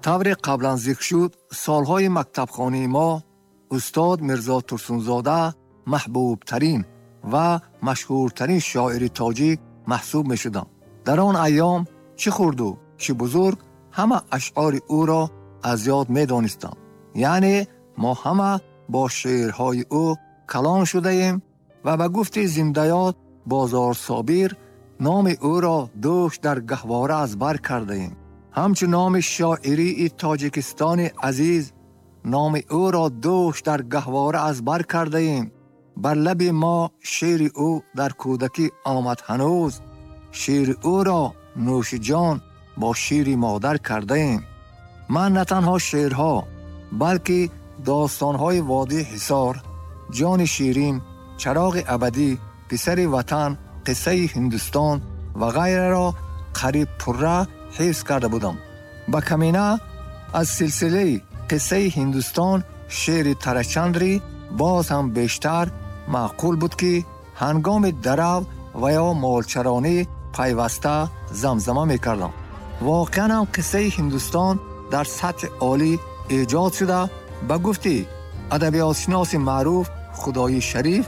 Тавре қаблан зикр шуд, солҳои мактабхонии мо устод Мирзо Турсунзода маҳбубтарин ва машҳуртарин шоири тоҷик маҳсуб мешуданд. Дар он айём чӣ хурду чӣ бузург ҳама ашъори ӯро аз ёд медонистанд. Яъне мо ҳама бо шеърҳои ӯ калон шудаем ва ба гуфти зиндаёд Бозор Собир номи ӯро дӯш дар гаҳвора аз бар кардаем. Ҳамчун номи шоирии Тоҷикистони азиз номи ӯро дӯш дар гаҳвора аз бар кардаем. Бар лаби мо шеъри ӯ дар кӯдакӣ омад ҳанӯз, шеъри ӯро нӯши ҷон бо шири модар кардаем. Ман на танҳо шеърҳо, балки достонҳои Водии Ҳисор, Ҷони Ширин, Чароғи абадӣ, Писари ватан, Қиссаи Ҳиндустон ва ғайраро қариб пурра ҳифз карда будам. Ба камина аз силсилаи Қиссаи Ҳиндустон шеъри Тарачандри боз ҳам бештар маъқул буд, ки ҳангоми дарав ва ё молчаронӣ пайваста замзама мекардам. Воқеан ҳам Қиссаи Ҳиндустон дар сатҳи олӣ эҷод шуда, ба гуфти адабиётшиноси маъруф Худои Шариф,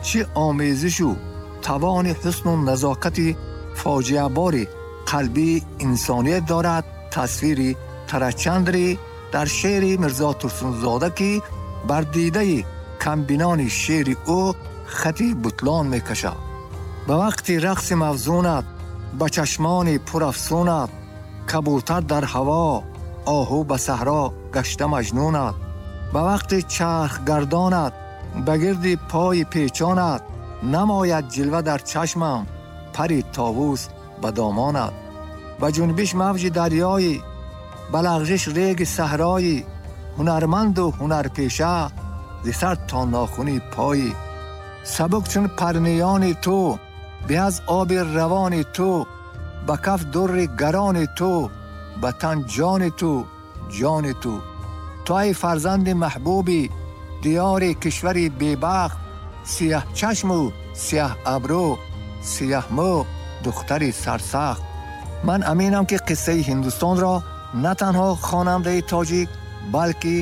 чӣ омезишу тавони ҳусну назокати фоҷиабори қалбии инсоният дорад тасвири Тарачандри дар шеъри Мирзо Турсунзода, ки бар дидаи камбинони шеъри ӯ хати бутлон мекашад. Ба вақти рақси мавзунат, ба чашмони пурафсунат, кабутар дар ҳаво, оҳу ба саҳро гашта маҷнунат, ба вақти чархгардонат, ба гирди пои печонат, намояд ҷилва дар чашмам, пари товус ба домонат. Ба ҷунбиш мавҷи дарёӣ, ба лағжиш реги саҳроӣ, ҳунарманду ҳунарпеша зи сар то нохуни поӣ. Сабук чун парниёни ту, бе аз оби равони ту, ба каф дурри гарони ту, ба тан ҷони ту, ҷони ту. Ту ай фарзанди маҳбуби диёри кишвари бебахт, сиёҳчашму сиёҳ абрӯ, сиёҳмӯ, духтари сарсахт. Ман аминам, ки Қиссаи Ҳиндустонро на танҳо хонандаи тоҷик, балки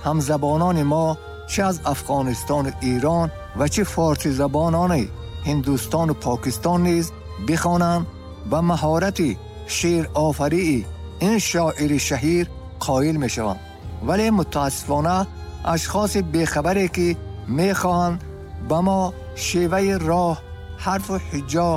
ҳамзабонони мо чӣ аз Афғонистону Эрон ва чӣ форсизабонони Ҳиндустону Покистон низ бихонанд, ба маҳорати шеърофарии ин шоири шаҳир қоил мешаванд. Вале мутаассифона ашхоси бехабаре, ки мехоҳанд ба мо шеваи роҳ, ҳарфу ҳиҷо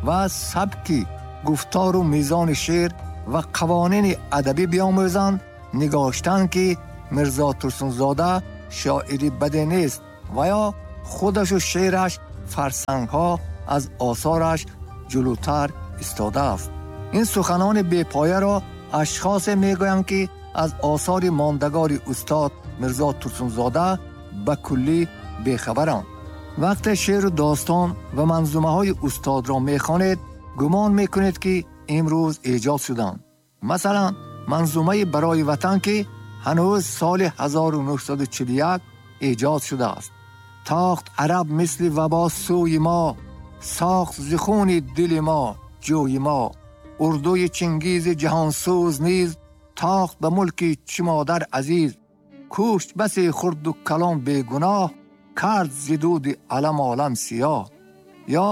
ва сабки гуфтору мизони шеър ва қавонини адабӣ биомӯзанд, нигоштанд, ки Мирзо Турсунзода шоири баде нест ва ё худашу шеъраш фарсангҳо аз осораш ҷулутар истодааст. Ин суханони бепояро ашхосе мегӯянд, ки аз осори мондагори устод Мирзо Турсунзода ба куллӣ бехабаранд. Вақте шеъру достон ва манзумаҳои устодро мехонед, гумон мекунед, ки имрӯз эҷод шуданд. Масалан, манзумаи Барои ватан, ки ҳанӯз соли 1941 эҷод шудааст. Тохт араб мисли вабо сӯи мо, сохт зи хуни дили мо ҷӯи мо. Урдуи Чингизи ҷаҳонсӯз низ тохт ба мулки чӣ модар азиз. Кушт басе хурду калон бегуноҳ, кард зи дуди алам олам сиёҳ. Ё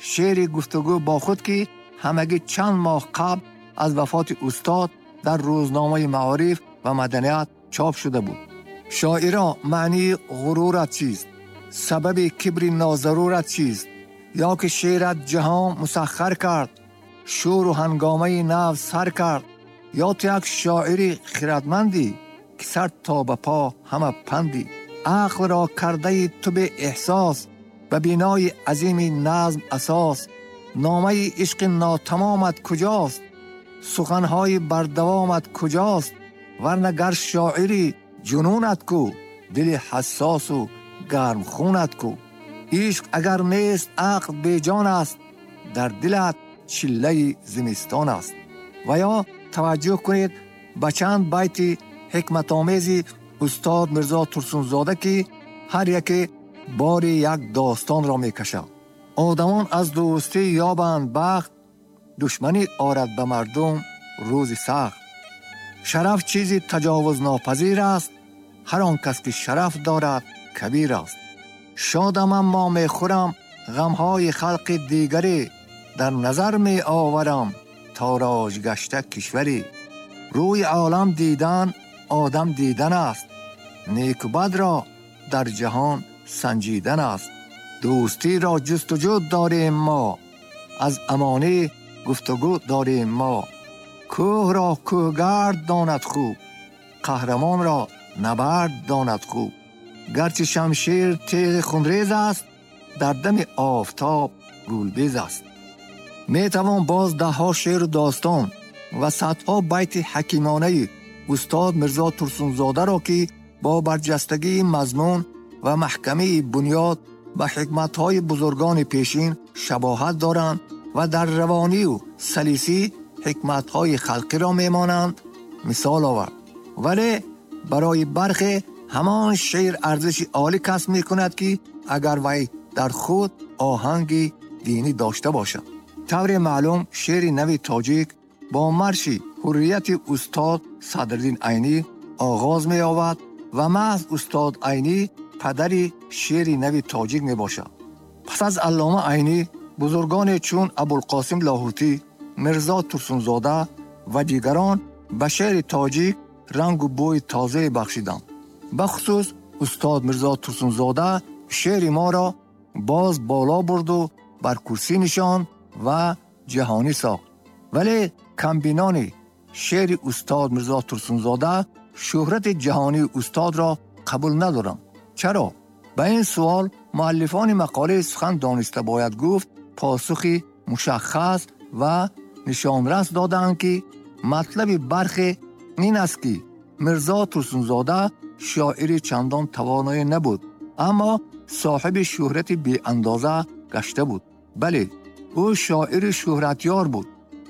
шеъри Гуфтугӯ бо худ, ки ҳамагӣ чанд моҳ қабл аз вафоти устод дар рӯзномаи Маориф ва маданият чоп шуда буд. Шоиро, маънии ғурурат чист? Сабаби кибри нозарурат чист? Ё ки шеърат ҷаҳон мусаххар кард, шӯру ҳангомаи нав сар кард? Ё ту як шоири хиратмандӣ, ки сар то ба по ҳама пандӣ? Ақлро кардаи ту беэҳсос, ба бинои азими назм асос. Номаи ишқи нотамомат куҷост? Суханҳои бардавомат куҷост? Варна гар шоири ҷунунат ку, дили ҳассосу гармхунат ку. Ишқ агар нест, ақл беҷон аст, дар дилат чиллаи зимистон аст. Ва ё таваҷҷӯҳ кунед ба чанд байти ҳикматомези устод Мирзо Турсунзода, ки ҳар яке бори як достонро мекашад. Одамон аз дӯстӣ ёбанд бахт, душманӣ орад ба мардум рӯзи сахт. Шараф чизи таҷовузнопазир аст, ҳар он кас ки шараф дорад кабир аст. Шодам аммо мехӯрам ғамҳои халқи дигаре, дар назар меоварам тороҷ гашта кишваре. Рӯи олам дидан одам дидан аст, неку бадро дар ҷаҳон санҷидан аст. Дӯстиро ҷустуҷӯ дорем мо, аз амонӣ гуфтугӯ дорем мо. Кӯҳро кӯҳгард донад хуб, қаҳрамонро набард донад хуб. Гарчи шамшер теғи хунрез аст, дар дами офтоб гулбез аст. Метавон боз даҳҳо шеъру достон ва садҳо байти ҳакимонаи устод Мирзо Турсунзодаро, ки бо барҷастагии мазмун ва маҳкамии бунёд ба ҳикматҳои бузургони пешин шабоҳат доранд ва дар равонию салисӣ ҳикматҳои халқиро мемонанд, мисол овард. Вале барои бархе ҳамон шеър арзиши олӣ касб мекунад, ки агар вай дар худ оҳанги динӣ дошта бошад. Тавре маълум, шеъри нави тоҷик бо марши ҳуррияти устод Садриддин Айнӣ оғоз меёбад ва маҳз устод Айнӣ падари шеъри нави тоҷик мебошад. Пас аз Аллома Айнӣ бузургоне чун Абулқосим Лоҳутӣ, Мирзо Турсунзода ва дигарон ба шеъри тоҷик рангу бӯи тозае бахшиданд. Бахусус устод Мирзо Турсунзода шеъри моро боз боло бурду бар курсӣ нишонд ва ҷаҳонӣ сохт. Вале камбинони шеъри устод Мирзо Турсунзода шӯҳрати ҷаҳонии устодро қабул надоранд. Чаро? Ба ин суол муаллифони мақолаи сухан дониста бояд гуфт посухи мушаххас ва нишонрас додаанд, ки матлаби бархе ин аст, ки Мирзо Турсунзода шоири чандон тавоное набуд, аммо соҳиби шӯҳрати беандоза гашта буд. Бале, ӯ шоири шӯҳратёр буд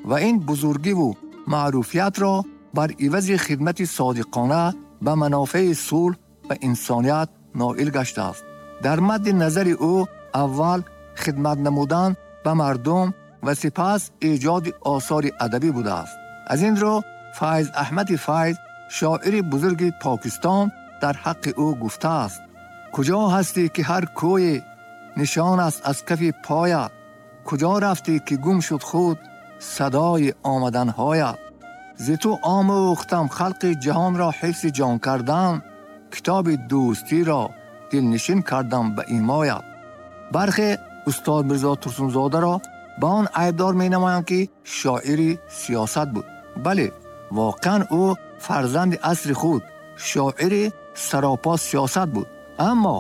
ва ин бузургиву маъруфиятро бар ивази хидмати содиқона ба манофеи сулҳ ва инсоният ноил гаштааст. Дар мадди назари ӯ аввал хидмат намудан ба мардум ва сипас эҷоди осори адабӣ будааст. Аз ин рӯ Файз Аҳмади Файз, шоири бузурги Покистон, дар ҳаққи ӯ гуфтааст: куҷо ҳастӣ, ки ҳар кӯе нишон аст аз кафи поят? Куҷо рафтӣ, ки гум шуд худ садои омаданҳоят? Зи ту омӯхтам халқи ҷаҳонро ҳифзи ҷон кардан, китоби дӯстиро дилнишин кардам ба имоят. Бархе устод Мирзо Турсунзодаро ба он айбдор менамоянд, ки шоири сиёсат буд. Бале, воқеан ӯ фарзанди асри худ, шоири саропо сиёсат буд. Аммо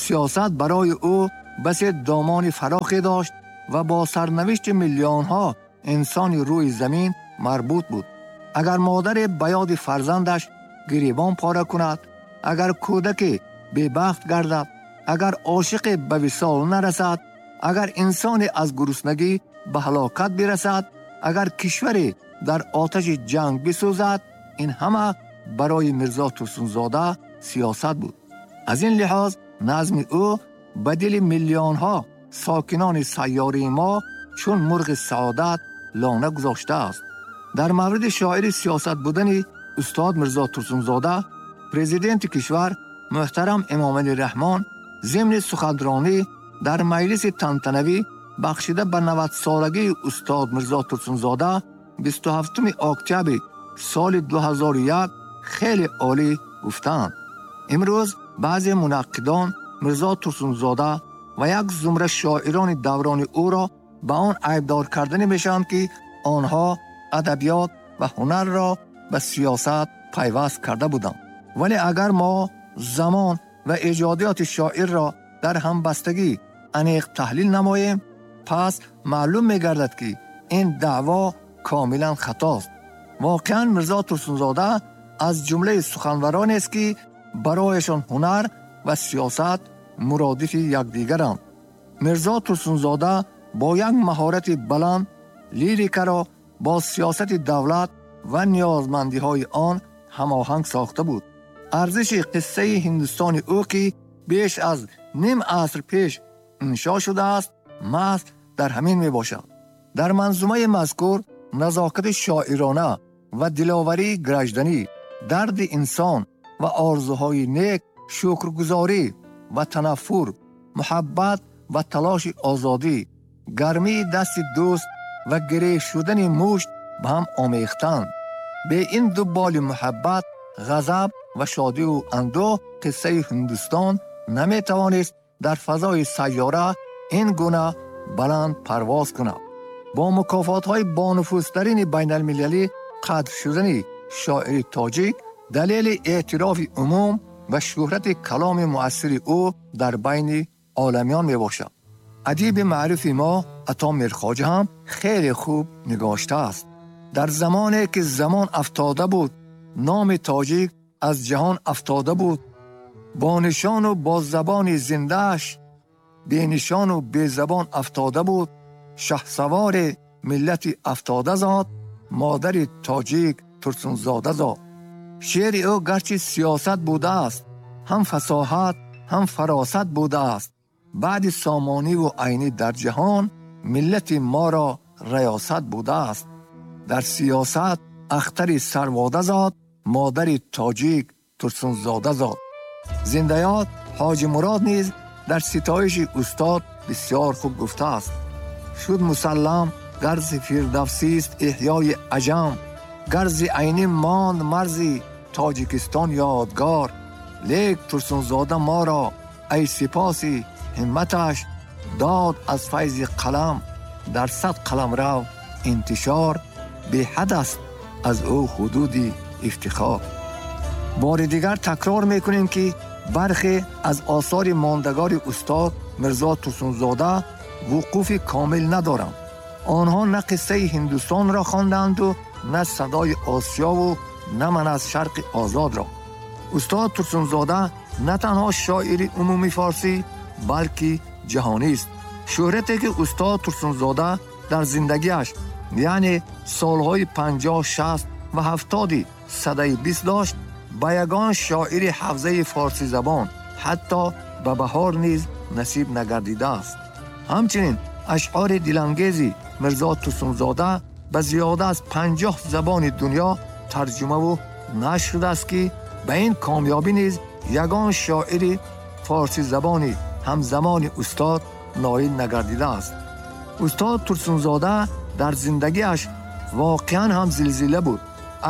сиёсат барои ӯ басе домони фарохе дошт ва бо сарнавишти миллионҳо инсони рӯи замин марбут буд. Агар модаре ба ёди фарзандаш гиребон пора кунад, агар кӯдаке бебахт гардад, агар ошиқе ба висол нарасад, агар инсоне аз гуруснагӣ ба ҳалокат бирасад, агар кишваре дар оташи ҷанг бисӯзад, ин ҳама барои Мирзо Турсунзода сиёсат буд. Аз ин лиҳоз назми ӯ ба дили миллионҳо сокинони сайёраи мо чун мурғи саодат лона гузоштааст. Дар мавриди шоири сиёсат будани устод Мирзо Турсунзода, президенти кишвар муҳтарам Эмомалӣ Раҳмон зимни суханронӣ дар маҷлиси тантанавӣ бахшида ба 90-солагии устод Мирзо Турсунзода 27 октябри соли 2001 хеле олӣ гуфтаанд: имрӯз баъзе мунаққидон Мирзо Турсунзода ва як зумра шоирони даврони ӯро ба он айбдор карданӣ мешаванд, ки онҳо адабиёт ва ҳунарро ба сиёсат пайваст карда буданд. Вале агар мо замон ва эҷодиёти шоирро дар ҳамбастагӣ аниқ таҳлил намоем, пас маълум мегардад, ки ин даъво комилан хатост. Воқеан Мирзо Турсунзода аз ҷумлаи суханваронест, ки барояшон ҳунар ва сиёсат муродифи якдигаранд. Мирзо Турсунзода бо як маҳорати баланд лирикаро бо сиёсати давлат ва ниёзмандиҳои он ҳамоҳанг сохта буд. Арзиши қиссаи Ҳиндустони ӯ, ки беш аз ним аср пеш иншо шудааст, маҳз дар ҳамин мебошад. Дар манзумаи мазкур назокати шоирона ва диловарии гражданӣ, дарди инсон ва орзуҳои нек, шукргузорӣ ва танаффур, муҳаббат ва талоши озодӣ, гармии дасти дӯст ва гиреҳ шудани мушт ба ҳам омехтанд. Бе ин ду боли муҳаббат, ғазаб ва шодиву андӯҳ, қиссаи Ҳиндустон наметавонист дар фазои сайёра ин гуна баланд парвоз кунад. Бо мукофотҳои бонуфузтарини байналмилалӣ қадр шудани шоири тоҷик далели эътирофи умум ва шӯҳрати каломи муассири ӯ дар байни оламиён мебошад. Адиби маъруфи мо Ато Мирхоҷа ҳам хеле хуб нигоштааст. Дар замоне ки замон афтода буд, номи тоҷик аз ҷаҳон афтода буд, бо нишону бо забони зиндааш бенишону безабон афтода буд, шаҳсавори миллати афтода зод, модари тоҷик Турсунзода зод. Шеъри ӯ гарчи сиёсат будааст, ҳам фасоҳат, ҳам фаросат будааст. Баъди Сомониву Айнӣ дар ҷаҳон миллати моро риёсат будааст. Дар сиёсат ахтари сарвода зод, модари тоҷик Турсунзода зод. Зиндаёд Ҳоҷи Мурод низ дар ситоиши устод бисёр хуб гуфтааст. Шуд мусаллам гарзи фирдавсист эҳёи аҷам, гарзи Айнӣ монд марзи Тоҷикистон ёдгор. Лек Турсунзода моро ай сипоси ҳимматаш дод аз файзи қалам дар 100 қаламрав интишор, беҳад аст аз ӯ ҳудуди ифтихор. Бори дигар такрор мекунем, ки бархе аз осори мондагори устод Мирзо Турсунзода вуқуфи комил надоранд. Онҳо на қиссаи Ҳиндустонро хондаанду на садои Осиёву на ман аз Шарқи Озодро. Устод Турсунзода на танҳо шоири умумии форсӣ, балки ҷаҳонист. Шӯҳрате ки устод Турсунзода дар зиндагиаш, яъне солҳои 50, 60 ва 70 садаи 20 дошт, ба ягон шоири ҳавзаи форсизабон, ҳатто ба Баҳор низ насиб нагардидааст. Ҳамчунин ашъори дилангези Мирзо Турсунзода ба зиёда аз 50 забони дунё тарҷумаву нашр шудааст, ки ба ин комёбӣ низ ягон шоири форсизабони ҳамзамони устод ноил нагардидааст. Устод Турсунзода дар зиндагиаш воқеан ҳам зилзила буд.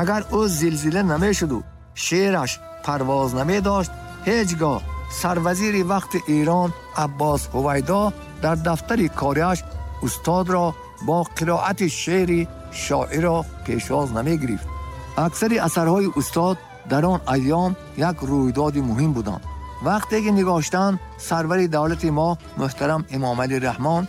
Агар ӯ зилзила намешуду шеъраш парвоз намедошт, ҳеҷ гоҳ сарвазири вақти Эрон Аббос Ҳувайдо дар дафтари кориаш устодро бо қироати шеъри шоирро пешвоз намегирифт. Аксари асарҳои устод дар он айём як рӯйдоди муҳим буданд. Вақте ки нигоштанд, сарвари давлати мо муҳтарам Эмомалӣ Раҳмон